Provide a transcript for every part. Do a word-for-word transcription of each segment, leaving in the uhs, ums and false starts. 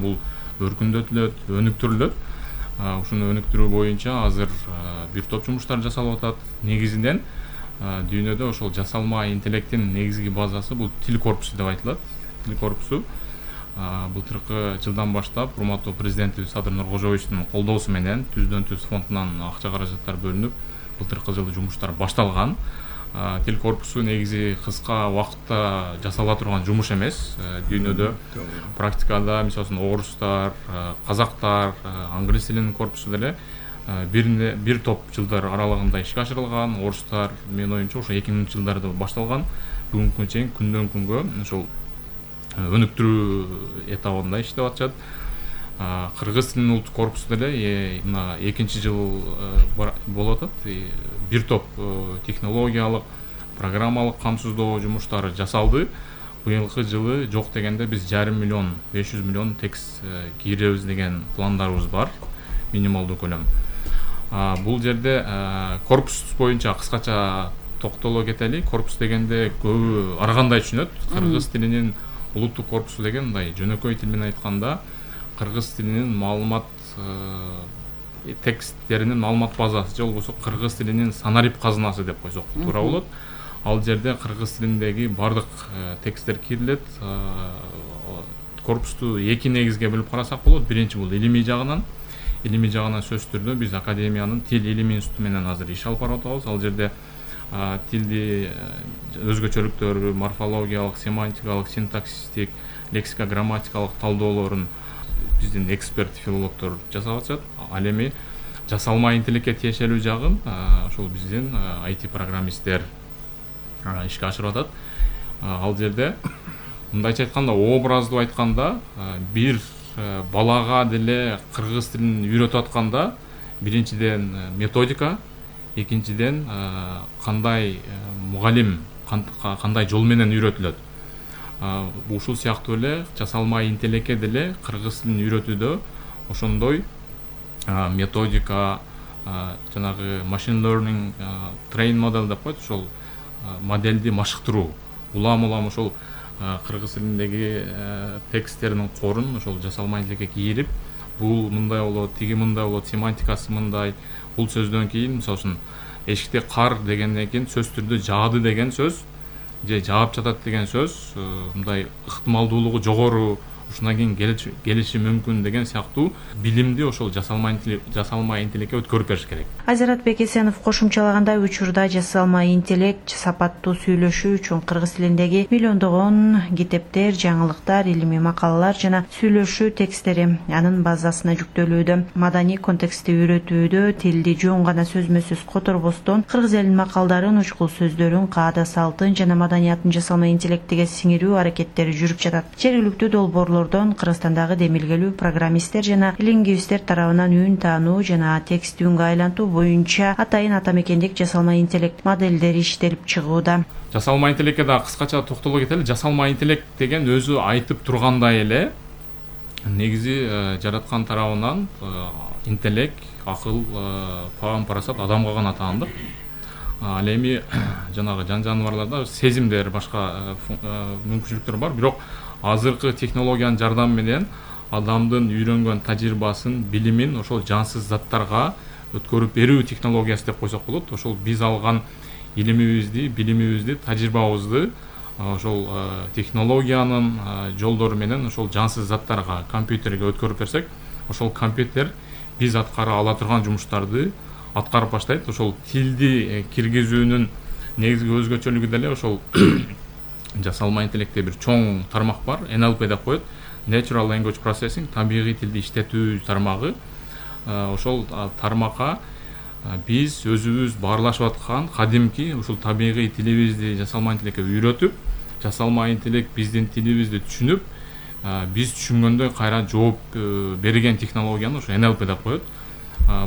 бул өркүндөтүлөт, өнүктүрүлөт. Ушуну өнүктүрүү боюнча азыр бир топ жумуштар жасалып атат. Негизинен дүйнөдө ошол жасалма интеллекттин негизги базасы бул тил корпусу деп айтылат. Тил корпусу былтыркы жылдан баштап урматтуу президентибиз Садыр Нуркожоевичтин колдоосу менен түздөн түз фондунан акча каражаттар бөлүнүп, былтыркы жылы жумуштар башталган. Тил корпусу негизи кыска убакытта жасала турган жумуш эмес. Дүйнөдө практикада мисалы үчүн орустар, казактар, англис тилинин корпусу деле бир бир топ жылдар аралыгында ишке ашырылган. Орустар менин оюмча ошо эки миңинчи жылдарда башталган. Бүгүнкү чейин күндөн күнгө ошол өнүктүрүү этабында иштеп атышат. Кыргыз тилинин улуттук корпусу деле мына экинчи жыл болуп атат. Бир топ технологиялык, программалык камсыздоо жумуштары жасалды. Быйылкы жылы жок дегенде биз жарым миллион, беш жүз миллион текст кийиребиз деген пландарыбыз бар, минималдуу көлөм. Бул жерде корпус боюнча кыскача токтоло кетели. Корпус дегенде көбү ар кандай түшүнөт. Кыргыз тилинин улуттук корпусу деген мындай жөнөкөй тил менен айтканда кыргыз тилинин маалымат тексттеринин маалымат базасы же болбосо кыргыз тилинин санарип казынасы деп койсок туура болот. Ал жерде кыргыз тилиндеги бардык тексттер кирилет. Корпусту эки негизге бөлүп карасак болот. Биринчи бул илимий жагынан. Илимий жагынан сөзсүз түрдө биз академиянын тил илими институту менен азыр иш алып барып атабыз. Ал жерде тилди өзгөчөлүктөрү, морфологиялык, семантикалык, синтаксистик, лексика грамматикалык талдоолорун биздин эксперт филологдор жасап атышат. Ал эми жасалма интеллекке тиешелүү жагын ошол биздин ай ти программисттер ишке ашырып атат. Ал жерде мындайча айтканда, образдуу айтканда, бир балага деле кыргыз тилин үйрөтүп атканда биринчиден методика, экинчиден кандай мугалим кандай жол менен үйрөтүлөт. Ушул сыяктуу эле жасалма интеллекке деле кыргыз тилин үйрөтүүдө ошондой методика, жанагы machine learning train model деп коет, ошол модельди машыктыруу. Улам-улам ошол кыргыз тилиндеги тексттердин корун ошол жасалма интеллекке кийирип, бул мындай болот, тиги мындай болот, семантикасы мындай. Бул сөздөн кийин мисалы үчүн эшикте кар дегенден кийин сөз түрдө жаады деген сөз же жаап жатат деген сөз мындай ыктымалдуулугу жогору, ушундан кийин келиши мүмкүн деген сыяктуу билимди ошол жасалма жасалма интеллекке өткөрүп бериш керек. Азират Бекесенов кошумчалагандай, учурда жасалма интеллект сапаттуу сүйлөшүү үчүн кыргыз тилиндеги миллиондогон китептер, жаңылыктар, илимий макалалар жана сүйлөшүү тексттери анын базасына жүктөлүүдө. Маданий контекстти үйрөтүүдө тилди жөн гана сөзмө-сөз которбостон кыргыз элинин макалдарын, учкул сөздөрүн, каада салтын жана маданиятын жасалма интеллектиге сиңирүү аракеттери жүрүп жатат. Жергиликтүү долбоорлордон Кыргызстандагы демилгелүү программисттер жана лингвисттер тарабынан үн таануу жана текст үнгө айлантуу боюнча атайын атамекендик жасалма интеллект модельдери иштелип чыгууда. Жасалма интеллекке да кыскача токтоло кетели. Жасалма интеллект деген өзү айтып тургандай эле негизи жараткан тарабынан интеллект, акыл, паам, парасат адамга гана таандык. Ал эми жанагы жан жаныбарларда сезимдер, башка мүмкүнчүлүктөр бар, бирок азыркы технологиянын жардамы менен адамдын үйрөнгөн тажрыйбасын, билимин ошол жансыз заттарга өткөрүп берүү технологиясы деп койсок болот. Ошол биз алган илимибизди, билимибизди, тажрыйбабызды ошол технологиянын жолдору менен ошол жансыз заттарга, компьютерге өткөрүп берсек, ошол компьютер биз аткара ала турган жумуштарды аткарып баштайт. Ошол тилди киргизүүнүн негизги өзгөчөлүгү деле ошол жасалма интеллектте бир чоң тармак бар, эн эл пи деп коет, Natural Language Processing, табигый тилди иштетүү тармагы. Ошол тармакка биз өзүбүз баарлашып аткан кадимки ушул табигый тилибизди жасалма интеллекке үйрөтүп, жасалма интеллект биздин тилибизди түшүнүп, биз түшүнгөндөй кайра жооп берген технологияны ошо эн эл пи деп коет.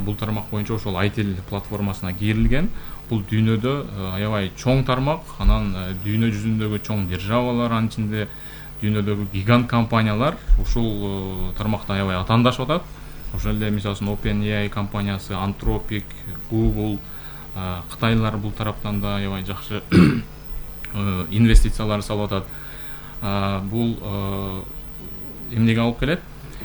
Бул тармак боюнча ошол айтил платформасына кирилген. Бул дүйнөдө аябай чоң тармак, анан дүйнө жүзүндөгү чоң державалар, анын ичинде дүйнөдөгү гигант компаниялар ушул тармакта аябай атаандашып атат. Ошол эле мисалы үчүн OpenAI компаниясы, Anthropic, Google, Кытайлар бул тараптан да аябай жакшы инвестициялар салып атат. Бул эмнеге алып келет?